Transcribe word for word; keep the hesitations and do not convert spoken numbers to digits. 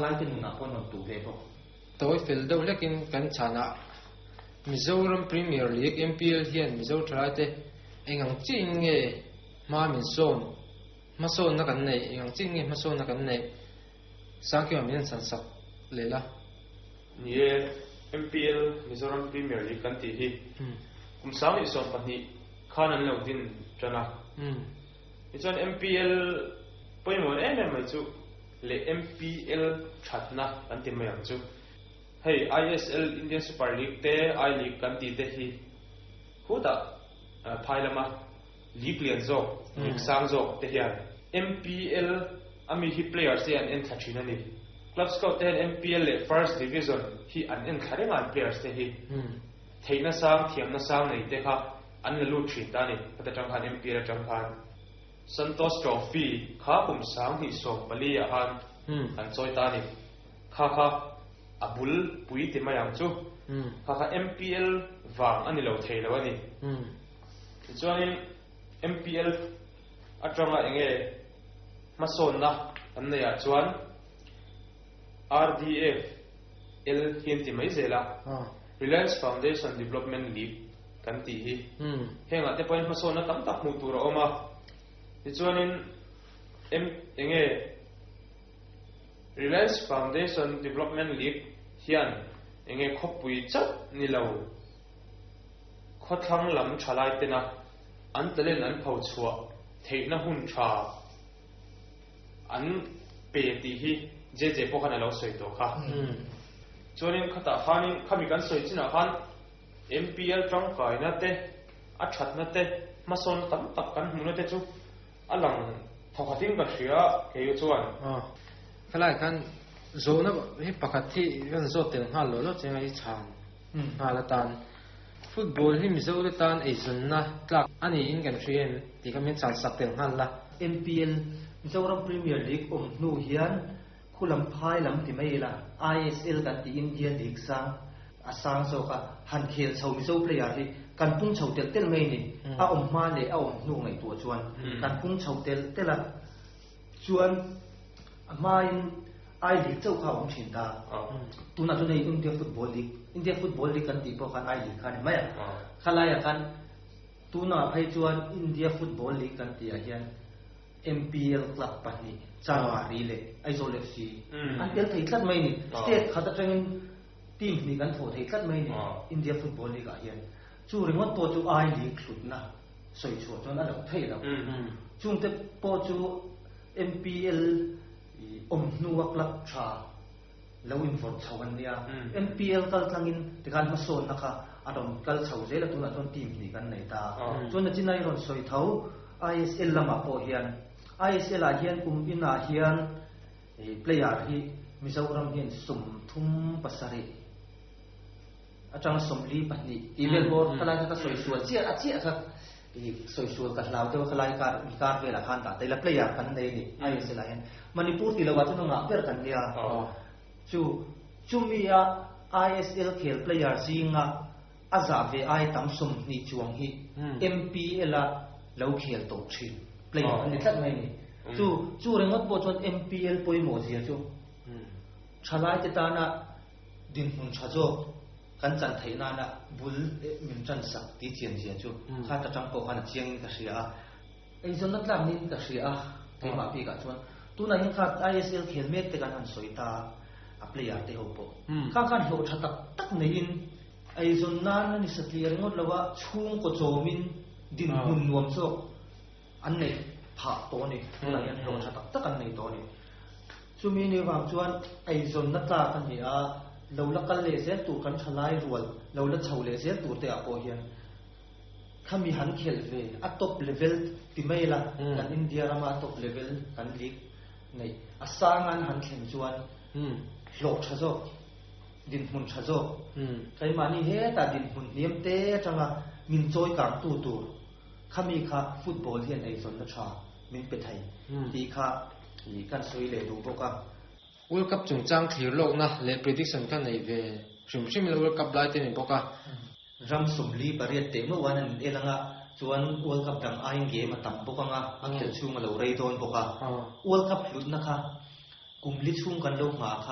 Thalai te nunah pawh rawn tuh ve bawk. Tawi fel deuh hlekin kan chhanah Mizoram Premier League, M P L, hian Mizo thalai te eng ang chiin nge hma min sawn, hmasawnna kan neih, eng ang chiin nge hmasawnna kan neih, Sangkima min an chhan sak leh la. Ni e, M P L, Mizoram Premier League kan tih hi kum sang leh sawm pahnih khan an lo din tan a. Tichuan M P L pawimawh em em mai chu leh M P L thatna kan ti mai ang chu. Hei I S L, Indian Super League te, I League kan tih te hi khutah phai lama league lian zawk, league sang zawk te hian M P L a mi hi players te an en thla thin a ni. Club scout te hian M P L leh First Division hi an en thla reng a an players te hi. Theihna sang, thiamna sang nei te kha an la lut thin ta a ni. Khata tang khan M P L atang khan Santosh Trophy kha kum sang hnih sawm pali ah khan an chawi ta a ni. Kha kha a bul pui ti mai ang chu. Kha kha M P L vang a ni lo thei lo a ni. Tichuanin M P L atanga enge hmasawnna an nei ah chuan R D F L hi an ti mai zel a. Reliance Foundation Development League kan tih hi. Hengah te pawhin hmasawnna tam tak hmuh tur a awm a. Tichuanin M enge Reliance Foundation Development League hian enge khawpui chauh ni lo khawthlang lam thalai tena an talent an pho chhuah theihna hun tha an pe tih hi J J pawh khan a lo sawi tawh kha. Chuanin khatah khanin khami kan sawi chinah khan M P L tangkaina te a thatna te hmasawn tam tak kan hmuhna te chu a lang thawkhatin ka hria kei chuan. Khalai khan zawhna hi pakhat hi kan zawt tel nghal lo lo chenga hi chhan nghal atan football hi Mizo te tan eizawnna tlak ani in kan hria em tih kha min chhan sak tel nghal la. M P L Mizoram Premier League awm hnu hian khulam phai lam ti mai la I S L kan ti India League sang a sang zawk a han khel chho Mizo player hi kan pung chho tel tel mai ni a awm hma leh a awm hnu ngaih tuah chuan kan pung chho tel tel a chuan a hmain I League chauh kha awm thin ta tuna chu nei India Football League India Football League kan tih pawh khan I League kha ni mai a khalaia khan tuna phei chuan India Football League kan tih ah hian M P L Club pahnih Chanmari leh Aizawl F C an tel thei tlat mai ni state khat atangin team hnih kan thawh thei tlat mai ni India Football League ah hian chu ringawt pawh chu I League hlutna sawi chhuah chuan a lo thei lo chungte pawh chu M P L awm hnuwa club tha lo in vawrh chho an nia M P L kal tlangin tikhan hmasawnna kha a rawn kal chho zel a tunah chuan team hnih kan nei ta chuan a chinai rawn sawi tho I S L lamah pawh hian I S L ah hian kum inah hian player hi Mizoram hian sum thum pasarih atang sawmli pahnih ti vel bawr khalai kha ka sawi sual chiah a chiah kha sawi sual ka hlau deuh khalai kar mi kar velah khan dah taila player kan nei ni I S L ah hian Manipur ti lo ah chuan ngah ber kan nia chu chumi a I S L khel player zinga a za ve ai tam sawm hnih chuang hi M P L a lo khel tawh thin player an ni tlat mai ni chu chu ringawt pawh chuan M P L pawimawh zia chu thalai te tana din hmun tha zawk kan chan theih nana bul min chan sak ti chian zia chu kha ta tang pawh khan a chiang in ka hria a eizawnna tlak nin ka hria a keimah bikah chuan tuna hian kha I S L khel mek te kan han sawi ta a player te ho pawh kha khan hlawh tha tak tak neiin eizawn nan ani satli ringawt lo a chhung ko chawmin din hmun nuam zawk an nei phah tawh ni tuna hian hlawh tha tak tak an nei tawh ni chumi ni wang chuan eizawnna tlak ani a lo la kal leh zel tur kan thalai rual lo la chho leh zel tur te ah pawh hian khami han khel ve a top level ti mai la kan India rama top level kan league nei a sangan han thleng chuan hlawh tha zawk din hmun tha zawk keimahni heta din hmun hniam te atanga min chawi kang tu tur khami kha football hian eizawnna tha min pe thei ti kha kan sawi leh duh bawk a. World Cup chungchang thlir lawkna leh prediction kha nei ve hrim hrim la World Cup lai te ni bawk a. Ram sawmli pariat te mo wan an elanga chuan World Cup dang aiin game a tam bawk anga a khel chhung a lo rei dawn bawk a. World Cup hlutna kha kum li chhung kan lo hma kha